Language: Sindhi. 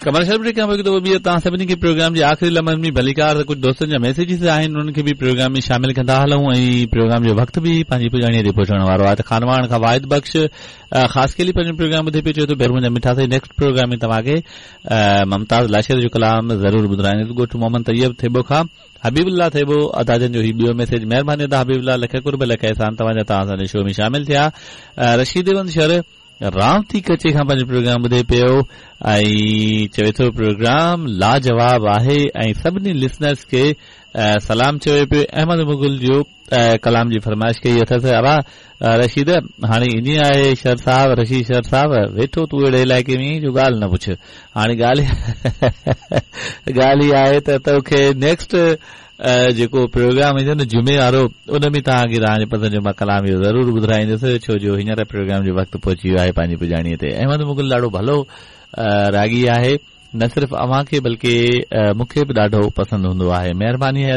ڪمرشل بريڪ کان پوء هڪ دفعو ٻيهر توهان سڀني کي پروگرام جي آخري لمحن ۾ ڀليڪار ته ڪجهه دوستن جا ميسيجز آهن انهن کي به پروگرام ۾ شامل ڪندا هلون ۽ پروگرام جو وقت به پنهنجي پڄاڻي تي پهچڻ وارو آهي ته خانواهڻ کان واحد بخش خاصخيلي پنهنجو پروگرام ٻڌي پيو چوي ٿو ڀير منهنجا مٺا سائين نيڪسٽ پروگرام ۾ توهان کي ممتاز لاشاري جو ڪلام ضرور ٻڌرائيندس ڳوٺ محمد طيب ٿيٻو کان حبيب الله ٿيٻو ادا جن جو هي ٻيو ميسيج مهرباني ادا حبيب الله لک قرب لک احسان توهان جا توهان اسان جي شو ۾ شامل ٿيا رشيد احمد شر رامتي ڪچي کان پنهنجو پروگرام ٻڌي پيو ۽ چوي ٿو پروگرام لاجواب آهي ۽ سڀني لسنرس کي سلام چوي پيو احمد مغل جو ڪلام جي فرمائش ڪئي اٿس ابا رشيد هاڻي ائين آهي شر صاحب رشيد شر صاحب ويٺو تون اهڙي علائقي ۾ جو ڳالهه نه پڇ هاڻي ڳالهه ڳالهه هي آهي ته توکي نيڪسٽ جيڪو پروگرام ايندو نه جمعي وارو ان ۾ توهان کي توهان جي پسند جو مان ڪلام اهو ضرور ٻڌرائيندس ڇو جو هينئر پروگرام جو وقت پهچي ويو آهي پنهنجي پڄاڻي تي احمد مغل ڏاڍو ڀلو راڳي آهي نه صرف اوهان کي بلڪه مون کي به ڏاڍو پسند هوندو آهي مهرباني آهي.